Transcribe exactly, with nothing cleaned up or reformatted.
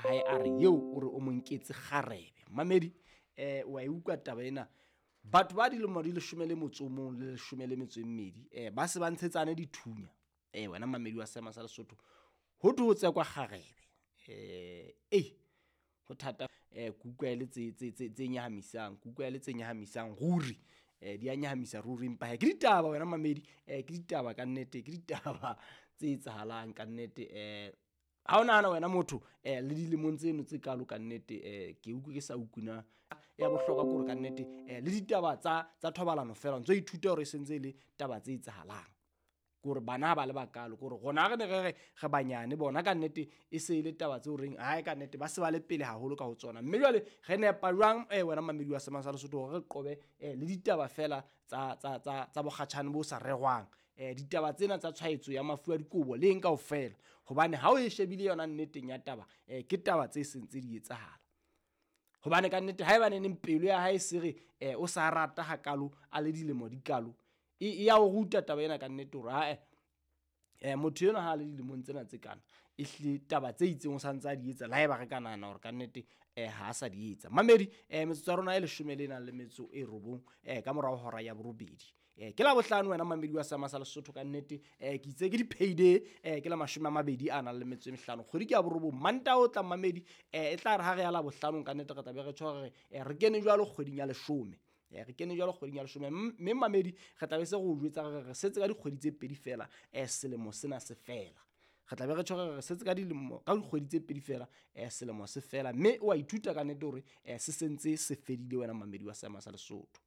hae a re eo o re o mo nketse kgarebe. Mamedi eh wa e utlwa taba ena, batho ba dilemo di leshome le motso o mong le leshome le metso e mmedi eh ba se ba ntshetsane dithunya. Eh wena mamedi wa Seema sa Lesotho, ho thwe ho tsekwa kgarebe. Eh eh ho thata eh ke utlwa e le tse tse tse tse nyahamisang, ke utlwa e le tse nyahamisang ruri. Eh di a nyahamisa ruri, empa hee ke ditaba wena mamedi, eh ke ditaba kannete, ke ditaba tse etsahalang kannete. Eh ha o nahana wena motho eh le dilemong tseno tse kalo kannete, eh ke utlwe ke sa utlwe na ya bohlokwa ke hore kannete eh le ditaba tsa tsa thobalano feela ntso ithuta hore e sentse e le taba tse etsahalang. Ke hore bana ha ba le bakalo, ke hore rona re ne re re re banyane bona kannete e se e le taba tse horeng hae kannete ba se ba le pele haholo ka ho tsona. Mme jwale re nepa jwang eh wena mamedi wa Seema sa Lesotho hore re qobe eh le ditaba feela tsa tsa tsa tsa bokgatjhane bo sa rerwang, eh ditaba tsena tsa tshwaetso ya mafu a dikobo le eng kaofela, hobane ha o e shebile yona nneteng ya taba eh ke taba tse seng tse di etsahala. Hobane kannete haeba neneng pelo ya hae se re eh o sa rata hakalo a le dilemo di kalo, e ya o ruta taba ena kannete hore ae eh motho enwa ha a le dilemong tsena tse kana ehlile taba tse itseng o santse a di etsa, le haeba re ka nahana hore kannete eh ha a sa di etsa. Mamedi eh metsotso ya rona e leshome le nang le metso e robong eh ka morao hora ya borobedi. Eh ke Labohlano wena mamedi wa Seema sa Lesotho kannete, eh ke itse ke di-payday eh ke la mashome a mabedi a nang le metso e mehlano, kgwedi ke ya borobong. Mantaha o tlang mamedi eh e tla re ha re ya Labohlanong kannete re tla be re tjho hore eh re kene jwalo kgweding ya leshome. Eh re kene jwalo kgweding ya leshome, mme mamedi re tla be se re o jwetsa re re setse ka dikgwedi tse pedi feela eh selemo sena se fela. Re tla be re tjho re re setse ka dilemo ka dikgwedi tse pedi feela eh selemo se fela, mme o a ithuta kannete hore eh se sentse se fedile wena mamedi wa Seema sa Lesotho.